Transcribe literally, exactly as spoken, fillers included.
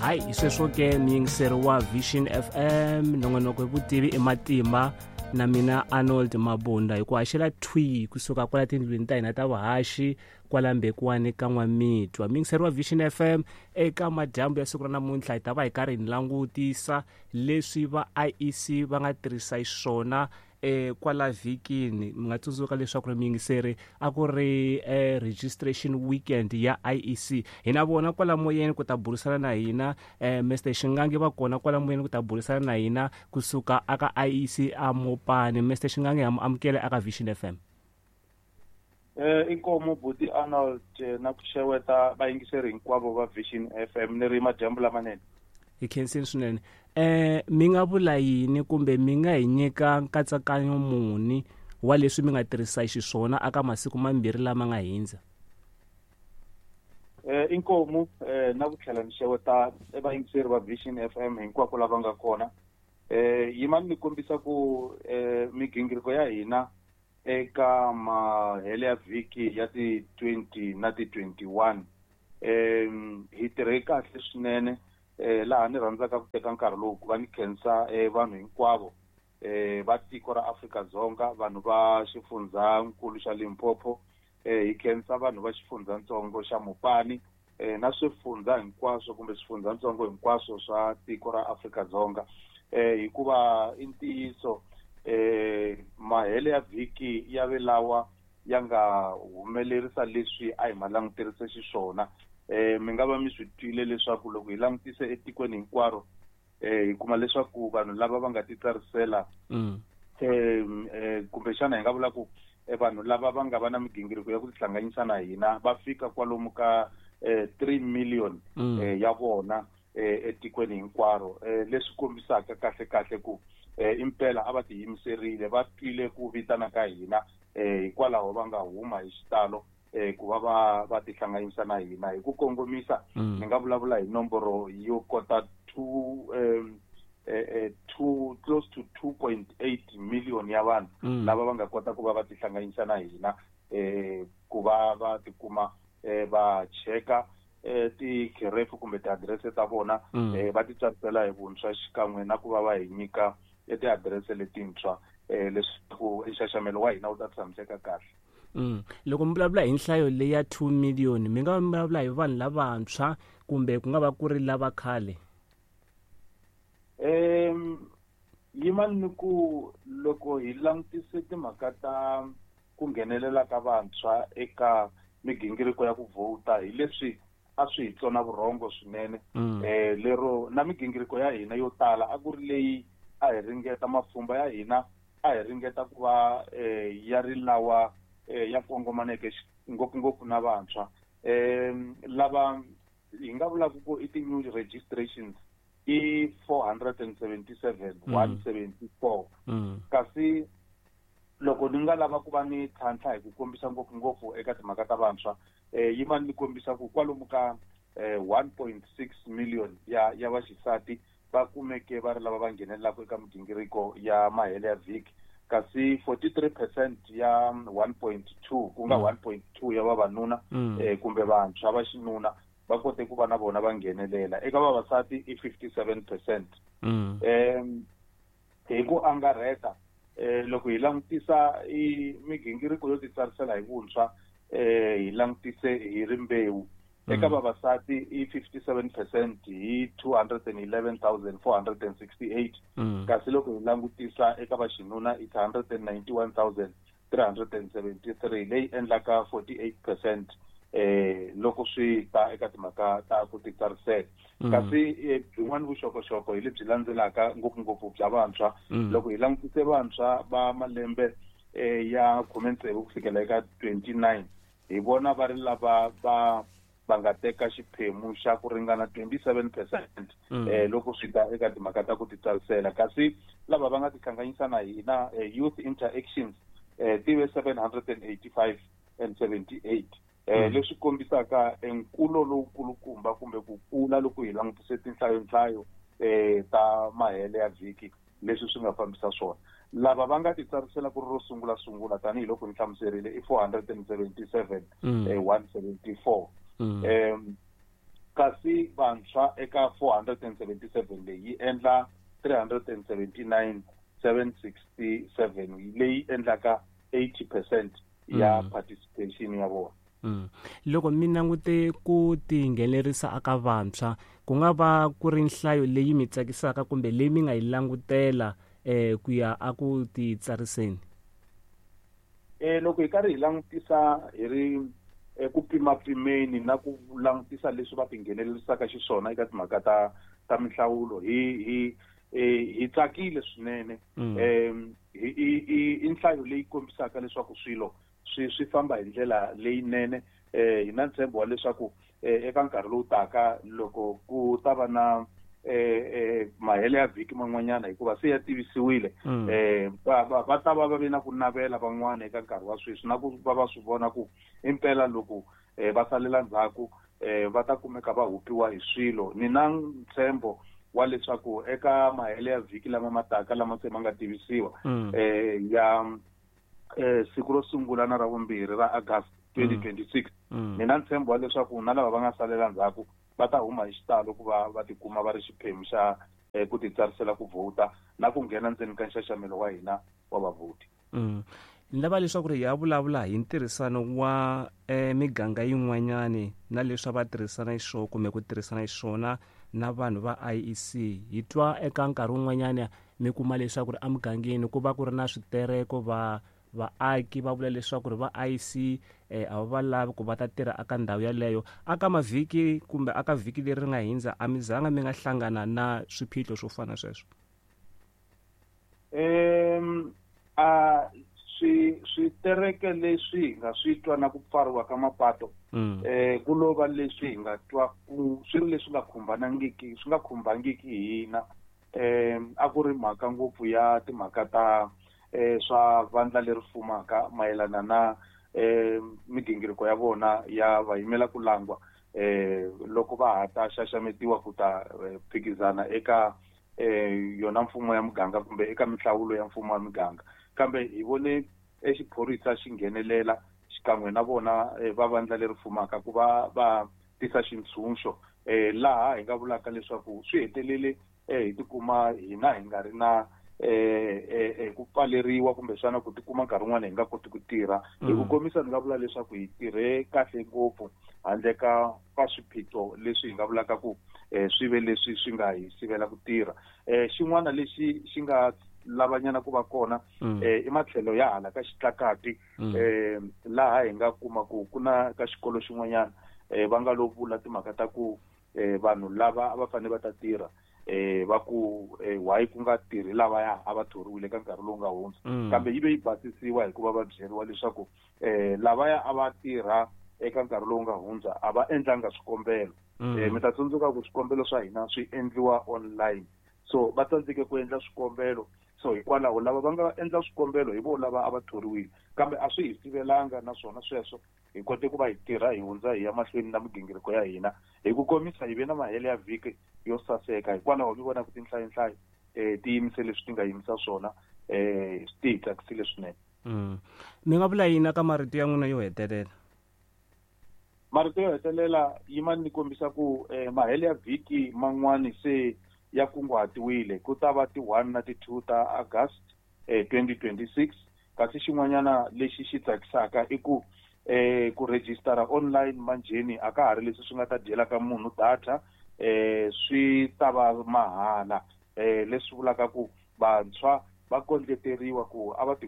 Hayi, hi sweswo ke muyingiseri wa Vision F M, nongonoko hi vutivi i matimba na mina Arnold Mabunda hi ku haxela thwi kusuka kwala tindlwini ta hina ta vuhaxi kwala Mbekwane ka N'wamitwa. Muyingiseri wa Vision F M, eka madyambu ya siku ra namuntlha hi ta va hi karhi hi langutisa leswi va I E C va nga tirhisa xiswona eh kwala vhikini. Mi nga tsundzuka leswaku ri muyingiseri a ku ri, eh, registration weekend ya I E C. Hi na vona kwala moyeni ku ta burisana na hina, eh, Mister Shingange va kona kwala moyeni ku ta burisana na hina kusuka aka I E C a Mopani. Mister Shingange ha mu amukela aka Vision F M. Eh, inkomu buti Arnold, na ku xeweta vayingiseri hinkwavo va Vision F M ni ri madyambu lamanene. Hi khensini swinene. Eh, mi nga vula yini kumbe mi nga hi nyika nkatsakanyo muni wa leswi mi nga tirhisa xiswona aka masiku mambirhi lama nga hindza? Eh, inkomu, eh, na ku tlhela ni xeweta vayingiseri va Vision F M hinkwako lava nga kona. Eh, yimani ni kombisa ku, eh, migingiriko ya hina eka mahele ya vhiki ya ti twenty na ti twenty-one, eh, hi tirhe kahle swinene. Eh, laha ni rhandzaka ku teka nkarhi lowu ku va ni khensa, eh, vanhu hinkwavo, eh, va tiko ra Afrika-Dzonga, vanhu va xifundzankulu xa Limpopo, eh, hi khensa vanhu va xifundzatsongo xa Mopani, eh, na swifundza hinkwaswo kumbe swifundzatsongo hinkwaswo swa tiko ra Afrika-Dzonga. Eh, hikuva i ntiyiso, eh, mahele ya vhiki ya ve lawa ya nga humelerisa leswi a hi ma languterise xiswona. Eh, mi nga va mi swi twile leswaku loko hi langutise etikweni hinkwaro, eh, hi kuma leswaku vanhu lava va nga titsarisela, Mm. eh, eh, kumbexana hi nga vula ku, eh, vanhu lava va nga va na migingiriko ya ku tihlanganisa na hina va fika kwalomu ka, eh, three million, Mm. eh, ya vona, eh, etikweni hinkwaro. Eh, leswi kombisaka kahle kahle ku, eh, impela a va tiyimiserile, va twile ku vitana ka hina, eh, hikwalaho va nga huma hi xitalo, eh, ku va va, va tihlanganisa na hina. Hi ku kongomisa, Mm. ni nga vulavula hi nomboro yo kota two, um, eh, eh, two, close to two point eight million ya vanhu Mm. lava va nga kota ku va va tihlanganisa na hina, eh, ku va va tikuma, eh, va cheka, eh, tikherefu kumbe tiadirese ta vona, Mm. eh, va titsarisela hi vuntshwa xikan'we na ku va va hi nyika tiadirese letintshwa, eh, leswaku nxaxamelo wa hina wu ta tshamiseka kahle. Mm. Loko mi vulavula hi nhlayo leyi ya two million, mi nga va mi vulavula hi vanhu lavantshwa kumbe ku nga va ku ri lava khale? Em, yimani ni ku loko hi langutise timhaka ta ku nghenelela ka vantshwa eka migingiriko ya ku vhota, hi leswi a swi hi tsona vurhongo swinene. Mm. Eh, lero na migingiriko ya hina yo tala a ku ri leyi a hi ringeta mapfhumba ya hina a hi ringeta ku va, eh, ya ri lawa, eh, ya kongomaneke xi-, ngopfungopfu na vantshwa. Em, lava hi nga vulaka ku i ti-new registrations i four hundred and seventy-seven, Mm. one seventy-four. Mm. Kasi loko ni nga lava ku va ni tlhantlha hi ku kombisa ngopfungopfu eka timhaka ta vantshwa, eh, yi va ni kombisa ku kwalomu ka, eh, one point six million ya, ya vaxisati va kumeke va ri lava va nghenelelaka eka migingiriko ya mahele ya vhiki, kasi forty-three percent ya one point two, ku nga Mm. one point two ya vavanuna, Mm. eh, kumbe vantshwa va xinuna va kote ku va na vona va nghenelela. Eka vavasati i fifty-seven percent. Mm. Em, hi ku angarheta, eh, loko hi langutisa i migingiriko yo titsarisela hi vuntshwa, eh, hi langutise hi rimbewu. Mm. Eka vavasati i fifty-seven percent hi two hundred and eleven thousand four hundred and sixty-eight. Mm. Kasi loko hi langutisa eka vaxinuna i hundred and ninety-one thousand three hundred and seventy-three, leyi endlaka forty-eight percent, eh, loko swi ta eka timhaka ta ku titsarisela. Mm. Kasi, eh, byin'wana vuxokoxoko hi lebyi landzelaka ngopfungopfu bya vantshwa. Mm. Loko hi langutise vantshwa va malembe, eh, ya khume ntsevu ku fikela eka twenty-nine, hi vona va ri lava va, va nga teka xiphemu xa ku ringana twenty-seven percent, Mm. eh, loko swi ta eka timhaka ta ku titsarisela. Kasi lava va nga tihlanganisa na hina, eh, youth interactions, eh, ti ve seven hundred and eighty-five and seventy-eight. Eh, Mm. leswi kombisaka nkulo lowukulukumba kumbe ku kula loko hi langutise tinhlayonhlayo, eh, ta mahele ya vhiki leswi swi nga fambisa swona. Lava va nga titsarisela ku ri ro sungula sungula tanihiloko ni hlamuserile i four hundred and seventy-seven, Mm. eh, one seventy-four. Mm. Em, Kasi vantshwa eka four hundred and seventy-seven leyi yi endla three hundred and seventy-nine seven sixty-seven leyi endlaka eighty percent ya mm. participation ya vona. Mm. Loko mi langute ku tinghenelerisa aka vantshwa, ku nga va ku ri nhlayo leyi mi tsakisaka kumbe leyi mi nga yi langutela eh ku ya a ku titsariseni? Eh loko hi karhi hi langutisa hi ri ku pimapimeni na ku langutisa leswi va tinghenelerisaka xiswona eka timhaka ta ta minhlawulo, hi hi hi tsakile swinene. Um i nhlayo leyi kombisaka leswaku swilo swi swi famba hi ndlela leyinene. Eh hi na ntshembo wa leswaku eka nkarhi lowu taka loko ku ta va na eh mahele ya vhiki man'wanyana, hikuva se ya tivisiwile, eh va va ta va va ve na ku navela van'wana eka nkarhi wa sweswi na ku va va swi vona ku impela loko va salela ndzhaku va ta kumeka va hupiwa hi swilo. Ni na ntshembo wa leswaku eka mahele ya vhiki lama ma taka lama se ma nga tivisiwa eh ya eh siku ro sungula na ra vumbirhi ra August twenty twenty-six, ni na ntshembo wa leswaku na lava va nga salela ndzhaku va ta huma hi xitalo ku va va tikuma va ri xiphemu xa ku titsarisela ku vhota na ku nghena ndzeni ka nxaxamelo wa hina wa vavhoti. Mm. Ni lava leswaku ri hi ya vulavula hi ntirhisano wa eh, miganga yin'wanyani na leswi va tirhisana hi swona kumbe ku tirhisana hi swona na vanhu va I E C. Hi twa eka nkarhi wun'wanyana mi kuma leswaku ri emugangeni ku va ku ri na switereko, va vaaki va vula leswaku ri va I E C eh, a va lavi ku va ta tirha aka ndhawu yaleyo. Aka mavhiki kumbe aka vhiki leri ri nga hindza, a mi zanga mi nga hlangana na swiphiqo swo fana sweswo? Um a swi switereke leswi hi nga swi twa na ku pfariwa ka mapato, eh ku lo va leswi hi nga twa ku swi ri leswi nga khumbanangiki swi nga khumbangiki hina. Eh a ku ri mhaka ngopfu ya timhaka ta eh swa vandla leri fumaka mayelana na eh migingiriko ya vona ya va yimela ku langwa eh loko va ha ta xaxametiwa ku ta phikizana eka eh yona mfumo ya muganga kumbe eka minhlawulo ya mfumo wa muganga. Kambe hi vone exiphorisa xi nghenelela xikan'we na vona va vandla leri fumaka ku va va tisa xintshunxo, eh laha hi nga vulaka leswaku swi hetelele eh hi tikuma hina hi nga ri na eh eh ku pfaleriwa kumbexana ku tikuma nkarhi wun'wana hi nga koti ku tirha. Hi ku komisa ni nga vula leswaku hi tirhe kahle ngopfu handle ka ka swiphiqo leswi hi nga vulaka ku eh swi ve leswi swi nga hi sivela ku tirha. Eh xin'wana lexi xi nga lavanyana ku va kona eh i matlhelo ya hala ka xitlakati, eh laha hi nga kuma ku ku na ka xikolo xin'wanyana eh va nga lo vula timhaka ta ku eh vanhu lava a va fanele va ta tirha eh va ku why ku nga tirhi lavaya a va thoriwile ka nkarhi lowu nga hundza, kambe yi ve yi basisiwa hikuva va byeriwa leswaku eh lavaya a va tirha eka nkarhi lowu nga hundza a va endlanga swikombelo. Eh mi ta tsundzuka ku swikombelo swa hina swi endliwa online, so va tsandzeke ku endla swikombelo. So hikwalaho lava va nga endla swikombelo hi vo lava a va thoriwile, kambe a swi hi sivelanga naswona sweswo hi kote ku va hi tirha hi hundza hi ya mahlweni na migingiriko ya hina. Hi ku komisa hi ve na mahele ya vhiki yo saseka, hikwalaho mi vona ku tinhlayonhlayo eh ti yimise leswi ti nga yimisa swona, eh ti hi tsakisile swinene. Mm. Mi nga vula yini eka marito ya n'wina yo hetelela? Marito yo hetelela yimani ni kombisa ku eh, mahele ya vhiki man'wani se ya kunguhatiwile ku ta va ti one na ti two ta August eh, twenty twenty-six. Kasi xin'wanyana lexi xi tsakisaka i ku eh ku registera online manjheni a ka ha ri leswi swi nga ta dyela ka munhu data, eh swi ta va mahala, eh leswi vulaka ku vantshwa va kondleteriwa ku a va ti